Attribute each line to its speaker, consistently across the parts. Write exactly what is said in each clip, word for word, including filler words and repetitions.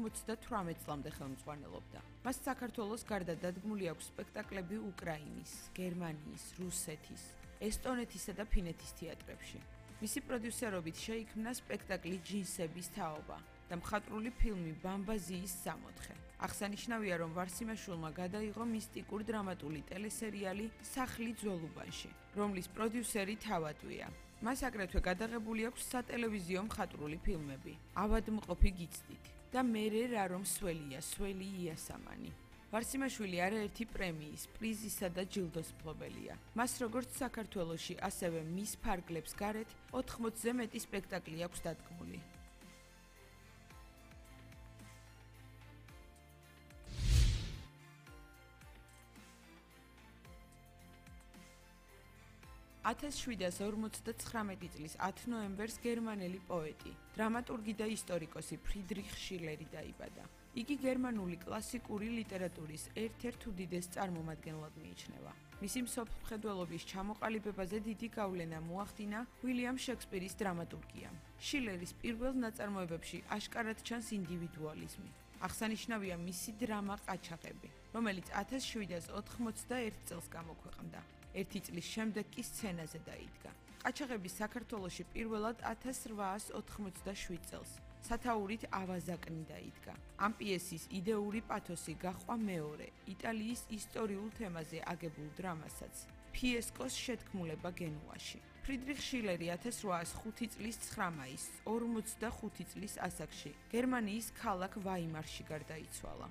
Speaker 1: ოთხმოცდათვრამეტ წლამდე ხელმძღვანელობდა. მას საქართველოს გარდა დადგმული აქვს სპექტაკლები უკრაინის, გერმანიის, რუსეთის, ესტონეთისა და ფინეთის თეატრებში. მისი პროდიუსერობით შეიქმნა სპექტაკლი ჯინსების თაობა და მხატვრული ფილმი ბამბაზიის სამოთხე. აღსანიშნავია, რომ ვარსიმაშვილმა გადაიღო მისტიკურ დრამატული ტელესერიალი სახლი ძველუბანში, რომლის პროდიუსერი თავადვია. მას აგრეთვე გადაღებული აქვს სატელევიზიო მხატვრული ფილმები ავადმყოფი გიცდით და მერე რა რომ სველია, სველი იასამანი. ვარსიმაშვილი არაერთი პრემიის, პრიზისა და ჯილდოს მფლობელია. მას როგორც საქართველოში, ასევე მის ფარგლებს გარეთ ოთხმოცზე მეტი სპექტაკლი აქვს დადგმული. ათას შვიდას ორმოცდაცხრამეტი წლის ათი ნოემბერს გერმანელი პოეტი, დრამატურგი და ისტორიკოსი ფრიდრიხ შილერი დაიბადა. იგი გერმანული კლასიკური ლიტერატურის ერთ-ერთ უდიდეს წარმომადგენლად მიიჩნევა. მისი მსოფლმხედველობის ჩამოყალიბებაზე დიდი გავლენა მოახდინა უილიამ შექსპირის დრამატურგიამ. შილერის პირველ ნაწარმოებებში აშკარად ჩანს ინდივიდუალიზმი. აღსანიშნავია მისი დრამა ყაჩაღები, რომელიც ათას შვიდას ოთხმოცდაერთ წელს გამოქვეყნდა. ერთი წლის შემდეგ კი სცენაზე დაიდგა. ყაჩაღები საქართველოში პირველად ათას რვაას ოთხმოცდაშვიდ წელს სათაურით ავაზაკნი დაიდგა. ამ პიესის იდეური პათოსი გაჰყვა მეორე იტალიის ისტორიულ თემაზე აგებულ დრამასაც ფიესკოს შეთქმულება გენუაში. ფრიდრიხ შილერი ათას რვაას ხუთი წლის ცხრა მაისს ორმოცდახუთი წლის ასაკში გერმანიის ქალაქ ვაიმარში გარდაიცვალა.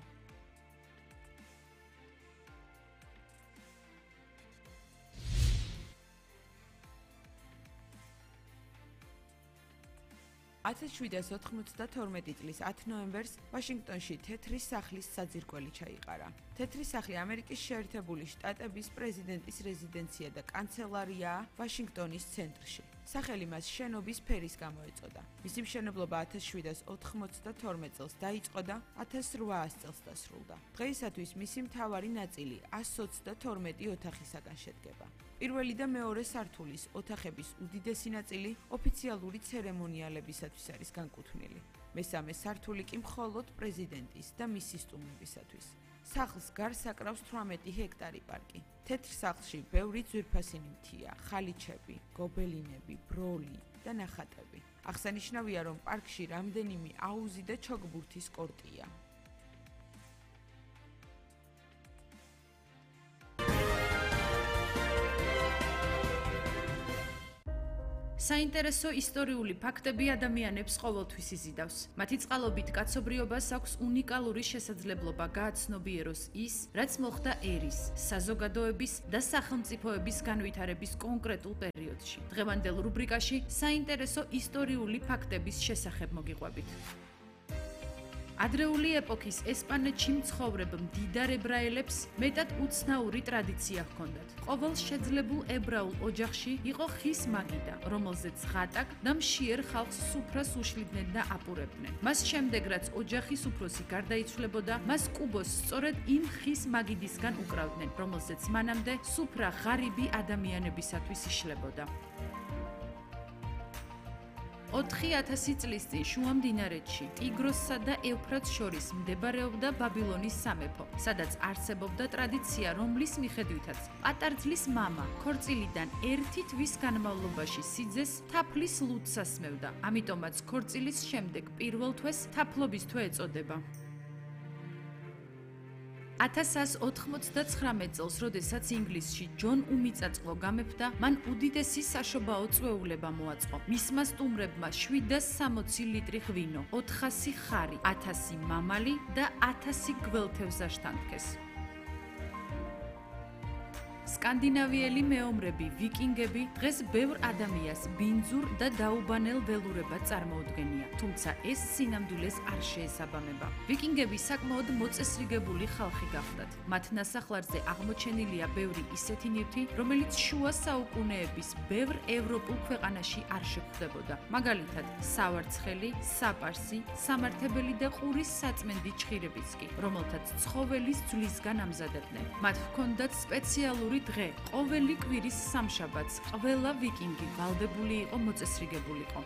Speaker 1: ათას შვიდას ოთხმოცდათორმეტი წლის ათი ნოემბერს ვაშინგტონში თეთრი სახლის საძირკველი ჩაიყარა. თეთრი სახლი ამერიკის შეერთებული შტატების პრეზიდენტის რეზიდენცია და კანცელარიაა ვაშინგტონის ცენტრში. სახელი მას შენობის ფერის გამო ეწოდა. მისი მშენებლობა ათას შვიდას ოთხმოცდათორმეტ წელს დაიწყო და ათას რვაას წელს დასრულდა. დღეისათვის მისი მთავარი ნაწილი ასს ოცდათორმეტი ოთახისაგან შედგება. პირველი და მეორე სართულის ოთახების უდიდესი ნაწილი ოფიციალური ცერემონიალებისათვის არის განკუთვნილი. მესამე სართული კი მხოლოდ პრეზიდენტის და მისი სტუმრებისათვის. სახლს გარს აკრავს თვრამეტი ჰექტარი პარკი. თეთრ სახლში ბევრი ძვირფასი მთია, ხალიჩები, გობელინები, ბროლი და ნახატები. აღსანიშნავია, რომ პარკში რამდენიმე აუზი და ჩოგბურთის კორტია.
Speaker 2: საინტერესო ისტორიული ფაქტები ადამიანებს ყოველთვის იზიდავს. მათი წყალობით კაცობრიობას აქვს უნიკალური შესაძლებლობა გააცნობიეროს ის, რაც მოხდა ერის, საზოგადოების და სახელმწიფოების განვითარების კონკრეტულ პერიოდში. დღევანდელ რუბრიკაში საინტერესო ისტორიული ფაქტების შესახებ მოგიყვებით. ადრეული ეპოქის ესპანეთში მცხოვრებ მდიდარ ებრაელებს მეტად უცნაური ტრადიცია ჰქონდათ. ყოველ შეძლებულ ებრაულ ოჯახში იყო ხის მაგიდა, რომელზეც ღატაკ და მშიერ ხალხს სუფრას უშლიდნენ და აპურებდნენ. მას შემდეგ, რაც ოჯახის უფროსი გარდაიცვლებოდა, მას კუბოს სწორედ იმ ხის მაგიდისგან უკრავდნენ, რომელზეც მანამდე სუფრა ღარიბი ადამიანებისათვის იშლებოდა. ოთხი ათასი წლის წინ შუამდინარეთში, ტიგროსსა და ევფრატს შორის მდებარეობდა ბაბილონის სამეფო, სადაც არსებობდა ტრადიცია, რომლის მიხედვითაც პატარძლის მამა ქორწილიდან ერთი თვის განმავლობაში სიძეს თაფლის ლუდს ასმევდა. ამიტომაც ქორწილის შემდეგ პირველ თვეს თაფლობის თვე ეწოდება. ათას ოთხმოცდაცხრამეტ წელს, როდესაც ინგლისში ჯონ უმიწაწყლო გამეფდა, მან უდიდესი საშობაო წვეულება მოაწყო. მისმა სტუმრებმა შვიდას სამოცი ლიტრი ღვინო, ოთხასი ხარი, ათასი მამალი და ათასი გველთევზა შთანთქეს. სკანდინავიელი მეომრები, ვიკინგები დღეს ბევრ ადამიანს ბინძურ და დაუბანელ ველურებად წარმოუდგენია, თუმცა ეს სინამდვილეს არ შეესაბამება. ვიკინგები საკმაოდ მოწესრიგებული ხალხი გახდათ. მათ ნასახლარზე აღმოჩენილია ბევრი ისეთი ნივთი, რომელიც შუა საუკუნეების ბევრ ევროპულ ქვეყანაში არ შეგვხვდებოდა. მაგალითად, სავარცხელი, საპარსი, სამართებელი და ყურის საწმენდი ჩხირებიც კი, რომელთაც ცხოველის ძვლისგან ამზადებდნენ. მათ ჰქონდათ სპეციალური დღე, ყოველი კვირის სამშაბათს ყველა ვიკინგი ვალდებული იყო მოწესრიგებულიყო.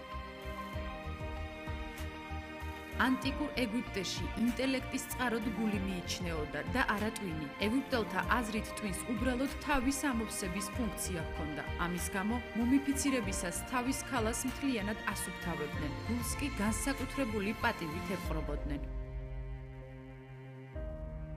Speaker 2: ანტიკურ ეგვიპტეში ინტელექტის წყაროდ გული მიიჩნეოდა და არა ტვინი. ეგვიპტელთა აზრით ტვინს უბრალოდ თავის ამოვსების ფუნქცია ჰქონდა. ამის გამო მუმიფიცირებისას თავის ქალას მთლიანად ასუფთავებდნენ, გულს კი განსაკუთრებული პატივით ეპყრობოდნენ.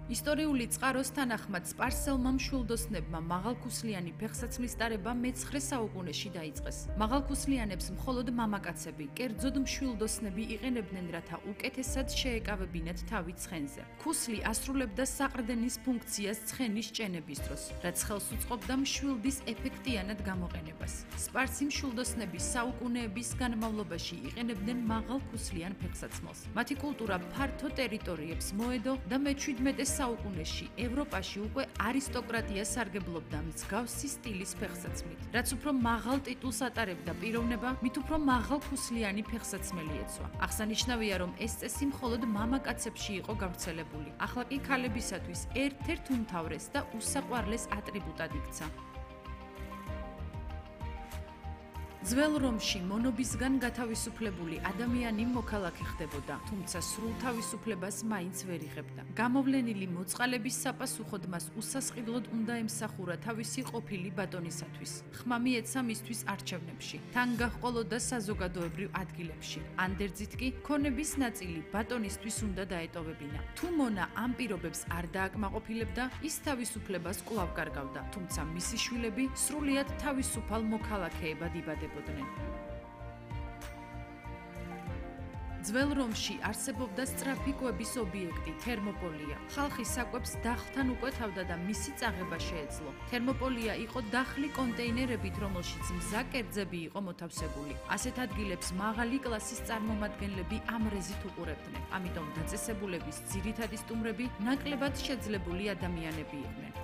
Speaker 2: ისტორიული წყაროს თანახმად სპარსელმა მშვილდოსნებმა მაღალქუსლიანი ფეხსაცმლის ტარება მეცხრე საუკუნეში დაიწყეს. მაღალქუსლიანებს მხოლოდ მამაკაცები, კერძოდ მშვილდოსნები იყენებდნენ, რათა უკეთესად შეეკავებინათ თავი ცხენზე. ქუსლი ასრულებდა საყრდენის ფუნქციას ცხენის ჭენების დროს, რაც ხელს უწყობდა მშვილდის ეფექტიანად გამოყენებას. სპარსი მშვილდოსნები საუკუნეების განმავლობაში იყენებდნენ მაღალქუსლიან ფეხსაცმელს. მათი კულტურა ფართო ტერიტორიებს მოედო და მეჩვიდმეტე საუკუნეში ევროპაში უკვე არისტოკრატია სარგებლობდა მსგავსი სტილის ფეხსაცმლით. რაც უფრო მაღალ ტიტულს ატარებდა პიროვნება, მით უფრო მაღალქუსლიანი ფეხსაცმელი ეცვა. აღსანიშნავია, რომ ეს წესი მხოლოდ მამაკაცებში იყო გავრცელებული. ახლა კი ქალებისათვის ერთ-ერთ უმთავრეს და უსაყვარლეს ატრიბუტად იქცა. ძველ რომში მონობისგან გათავისუფლებული ადამიანი მოქალაქე ხდებოდა, თუმცა სრულ თავისუფლებას მაინც ვერ იღებდა. გამოვლენილი მოწყალების საპასუხოდ მას უსასყიდლოდ უნდა ემსახურა თავისი ყოფილი ბატონისათვის. ხმა მიეცა მისთვის არჩევნებში, თან გაჰყოლოდა საზოგადოებრივ ადგილებში. ანდერძით კი ქონების ნაწილი ბატონისთვის უნდა დაეტოვებინა. თუ მონა ამ პირობებს არ დააკმაყოფილებდა, ის თავისუფლებას კვლავ კარგავდა, თუმცა მისი შვილები სრულიად თავისუფალ მოქალაქეებად იბადებოდნენ. ძველ რომში არსებობდა სწრაფი კვების ობიექტი თერმოპოლია. ხალხი საკვებს დახლთან უკვეთავდა და მისი წაღება შეეძლო. თერმოპოლია იყო დახლი კონტეინერებით, რომელშიც მზა კერძები იყო მოთავსებული. ასეთ ადგილებს მაღალი კლასის წარმომადგენლები ამრეზით უყურებდნენ. ამიტომ დაწესებულების ძირითადი სტუმრები ნაკლებად შეძლებული ადამიანები იყვნენ.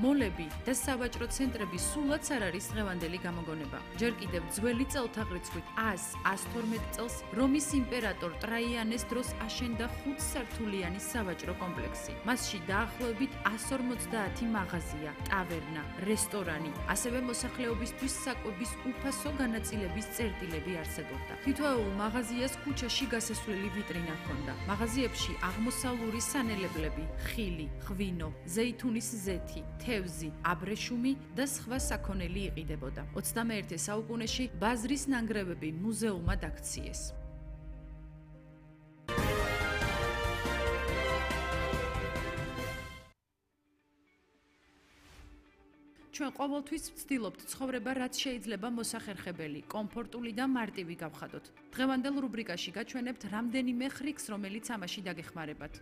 Speaker 2: მოლები და სავაჭრო ცენტრები სულაც არ არის დღევანდელი გამოგონება. ჯერ კიდევ ძველი წელთაღრიცხვით ას თორმეტ წელს რომის იმპერატორ ტრაიანეს დროს აშენდა ხუთსართულიანი სავაჭრო კომპლექსი. მასში დაახლოებით ას ორმოცდაათი მაღაზია, ტავერნა, რესტორანი, ასევე მოსახლეობისთვის საკვების უფასო განაწილების წერტილები არსებობდა. თითოეულ მაღაზიას ქუჩაში გასასვლელი ვიტრინა ჰქონდა. მაღაზიებში აღმოსავლური სანელებლები, ხილი, ღვინო, ზეითუნის ზეთი, თევზი, აბრეშუმი და სხვა საქონელი იყიდებოდა. ოცდამეერთე საუკუნეში ბაზრის ნანგრევები მუზეუმად აქციეს. ჩვენ ყოველთვის ვცდილობთ ცხოვრება, რაც შეიძლება მოსახერხებელი, კომფორტული და მარტივი გავხადოთ. დღევანდელ რუბრიკაში გაჩვენებთ რამდენიმე ხრიკს, რომელიც ამაში დაგეხმარებათ.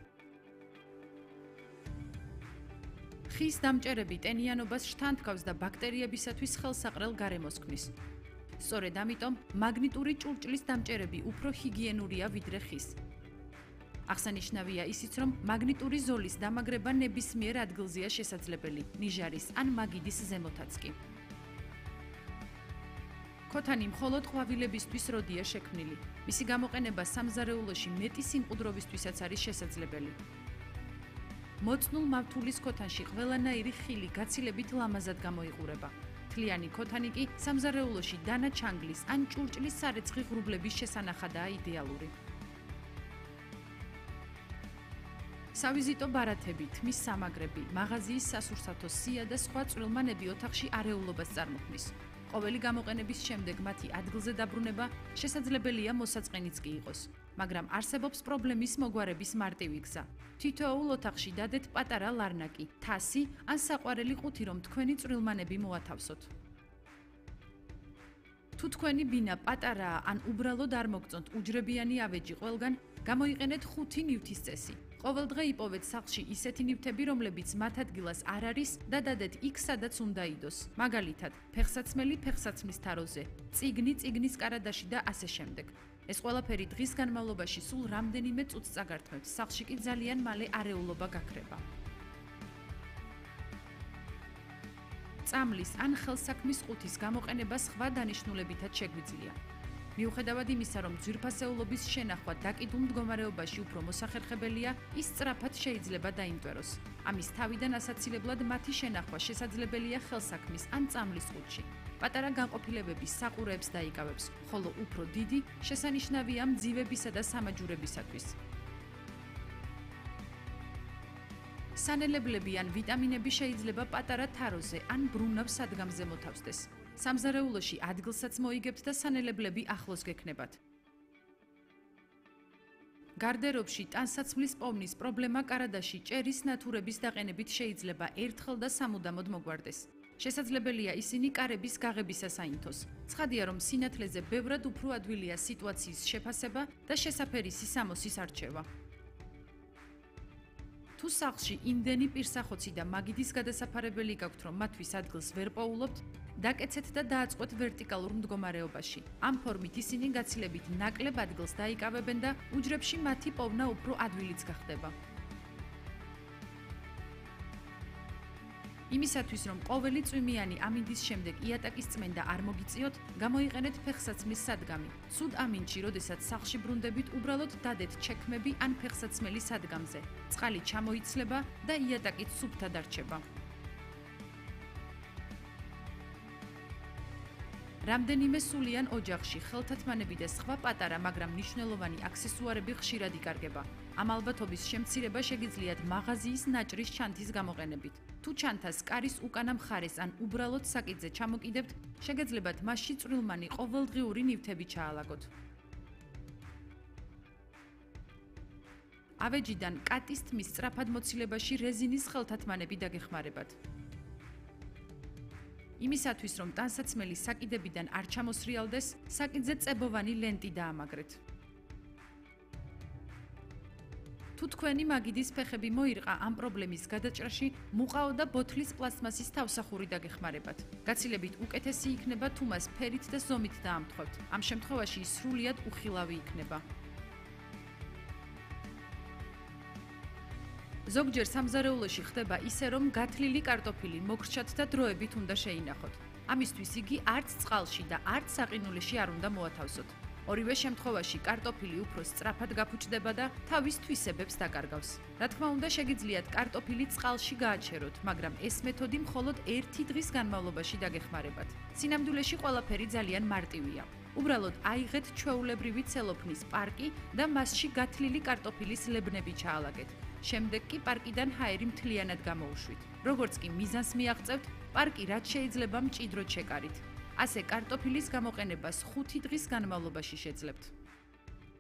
Speaker 2: ხის დამჭერები ტენიანობას შთანთქავს და ბაქტერიებისათვის ხელსაყრელ გარემოს ქმნის. სწორედ ამიტომ მაგნიტური ჭურჭლის დამჭერები უფრო ჰიგიენურია ვიდრე ხის. აღსანიშნავია ისიც, რომ მაგნიტური ზოლის დამაგრება ნებისმიერ ადგილზეა შესაძლებელი, ნიჟარის ან მაგიდის ზემოთაც კი. ქოთანი მხოლოდ ყვავილებისთვის როდია შექმნილი. მისი გამოყენება სამზარეულოში მეტი სიმყუდროვისთვისაც არის შესაძლებელი. მოწნულ მავთულის ქოთანში ყველანაირი ხილი გაცილებით ლამაზად გამოიყურება. თლიანი ქოთანი კი სამზარეულოში დანა ჩანგლის ან ჭურჭლის სარეცხი ღრუბლების შესანახადაა იდეალური. სავიზიტო ბარათები, თმის სამაგრები, მაღაზიის სასურსათო სია და სხვა წვრილმანები ოთახში არეულობას წარმოქმნის. ყოველი გამოყენების შემდეგ მათი ადგილზე დაბრუნება შესაძლებელია მოსაწყენიც კი იყოს, მაგრამ არსებობს პრობლემის მოგვარების მარტივი გზა. თითოეულ ოთახში დადეთ პატარა ლარნაკი, თასი ან საყვარელი ყუთი, რომ თქვენი წვრილმანები მოათავსოთ. თუ თქვენი ბინა პატარაა ან უბრალოდ არ მოგწონთ უჯრებიანი ავეჯი ყველგან, გამოიყენეთ ხუთი ნივთის წესი. ყოველ დღე იპოვეთ სახლში ისეთი ნივთები, რომლებიც მათ ადგილას არ არის და დადეთ იქ, სადაც უნდა იდოს. მაგალითად, ფეხსაცმელი ფეხსაცმლის თაროზე, წიგნი წიგნის კარადაში და ასე შემდეგ. ეს ყველაფერი დღის განმავლობაში სულ რამდენიმე წუთს წაგართმევთ, სახლში კი ძალიან მალე არეულობა გაქრება. წამლის ან ხელსაქმის ყუთის გამოყენება სხვა დანიშნულებითაც შეგვიძლია. მიუხედავად იმისა, რომ ძვირფასეულობის შენახვა დაკიდულ მდგომარეობაში უფრო მოსახერხებელია, ის სწრაფად შეიძლება დაიმტვეროს. ამის თავიდან ასაცილებლად მათი შენახვა შესაძლებელია ხელსაქმის ან წამლის ყუთში. პატარა განყოფილებების საყურეებს დაიკავებს, ხოლო უფრო დიდი შესანიშნავია მძივებისა და სამაჯურებისათვის. სანელებლები ან ვიტამინები შეიძლება პატარა თაროზე ან ბრუნავ სადგამზე მოთავსდეს. სამზარეულოში ადგილსაც მოიგებთ და სანელებლები ახლოს გექნებათ. გარდერობში ტანსაცმლის პოვნის პრობლემა კარადაში ჭერის ნათურების დაყენებით შეიძლება ერთხელ და სამუდამოდ მოგვარდეს. შესაძლებელია ისინი კარების გაღებისას აინთოს. ცხადია, რომ სინათლეზე ბევრად უფრო ადვილია სიტუაციის შეფასება და შესაფერისი სამოსის არჩევა. თუ სახლში იმდენი პირსახოცი და მაგიდის გადასაფარებელი გაქვთ, რომ მათთვის ადგილს ვერ პოულობთ, დაკეცეთ და დააწყვეთ ვერტიკალურ მდგომარეობაში. ამ ფორმით ისინი გაცილებით ნაკლებ ადგილს დაიკავებენ და უჯრებში მათი პოვნა უფრო ადვილიც გახდება. იმისათვის, რომ ყოველი წვიმიანი ამინდის შემდეგ იატაკის წმენდა არ მოგიწიოთ, გამოიყენეთ ფეხსაცმლის სადგამი. სულ ამინდში, როდესაც სახლში ბრუნდებით, უბრალოდ დადეთ ჩექმები ან ფეხსაცმელი სადგამზე. წყალი ჩამოიცლება და იატაკით სუფთად არჩება. რამდენიმე სულიან ოჯახში ხელთათმანები და სხვა პატარა, მაგრამ მნიშვნელოვანი აქსესუარები ხშირად იკარგება. ამ ალბათობის შემცირება შეგიძლიათ მაღაზიის ნაჭრის ჩანთის გამოყენებით. თუ ჩანთას კარის უკანა მხარეს ან უბრალოდ საკიდზე ჩამოკიდებთ, შეგეძლებათ მასში წვრილმანი ყოველდღიური ნივთები ჩაალაგოთ. ავეჯიდან კატის თმის სწრაფად მოცილებაში რეზინის ხელთათმანები დაგეხმარებათ. იმისათვის, რომ ტანსაცმელი საკიდებიდან არ ჩამოსრიალდეს, საკიდზე წებოვანი ლენტი დაამაგრეთ. თუ თქვენი მაგიდის ფეხები მოირყა ამ პრობლემის გადაჭრაში, მუყაო და ბოთლის პლასტმასის თავსახური დაგეხმარებათ. გაცილებით უკეთესი იქნება, თუ მას ფერით და ზომით დაამთხვევთ. ამ შემთხვევაში ის სრულიად უხილავი იქნება. ზოგჯერ სამზარეულოში ხდება ისე, რომ გათლილი კარტოფილი მოგრჩათ და დროებით უნდა შეინახოთ. ამისთვის იგი არც წყალში და არც საყინულში არ უნდა მოათავსოთ. ორივე შემთხვევაში კარტოფილი უფრო სწრაფად გაფუჭდება და თავის თვისებებს დაკარგავს. რა თქმა უნდა, შეგიძლიათ კარტოფილი წყალში გააჩეროთ, მაგრამ ეს მეთოდი მხოლოდ ერთი დღის განმავლობაში დაგეხმარებათ. სინამდვილეში ყველაფერი ძალიან მარტივია. უბრალოდ აიღეთ ჩვეულებრივი ცელოფნის პარკი და მასში გათლილი კარტოფილის ლებნები ჩაალაგეთ. შემდეგ კი პარკიდან ჰაერი მთლიანად გამოუშვით. როგორც კი მიზანს მიაღწევთ, პარკი რაც შეიძლება მჭიდროდ შეკარით. ასე კარტოფილის გამოყენებას ხუთი დღის განმავლობაში შეძლებთ.